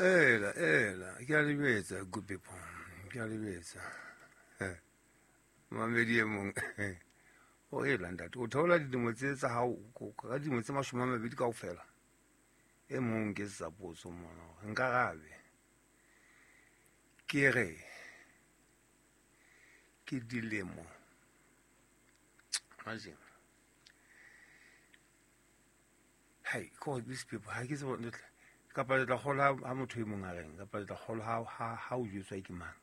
Ela, ela, ke a le jwetsa, good people, ke a le jwetsa. Mamedi e mong o ela ntate, o theola dilemo tse tsa hao ka dilemo tse 20 kaofela. E mong ke sa potso mona, nkarabe. Ke re ke dilemo. Imagine. Hey, God, these people, ha ke tsebe kapa le tla kgolwa ha motho e mong a reng, kapa le tla kgolwa ha o jwetswa ke mang.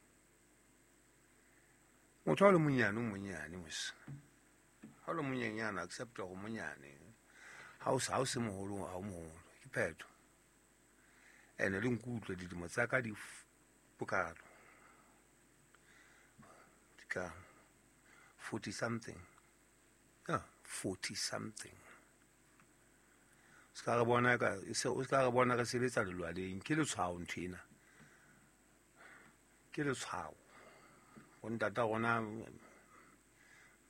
Motho ha o le monyane, o monyane mos. Ha o le monyenyane, accept hore o monyane. Ha o se moholo, ha o moholo. Ke phetho. Ene le nkutlwe dilemo tsa ka di bokalo. Di ka 40 something. Yeah, 40 something. Se ka re bona ka, se, o se ka re bona re sebetsa lelwaleng. Ke letshwao ntho ena. Ke letshwao. Bo ntata rona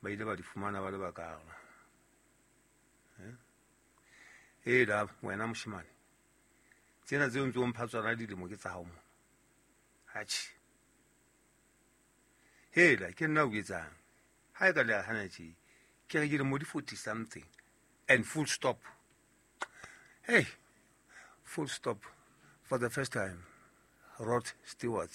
ba ile ba di fumana ba le bakalo. Eh? La wena moshemane. Tsena tseo ntse o mpha tsona dilemo ke tsa hao mona. Atjhe. Hela, ke nna o etsang. Ha e ka le hana tje. Ke re ke dilemo di 40 something and full stop. Hey, full stop for the first time. Rod Stewart.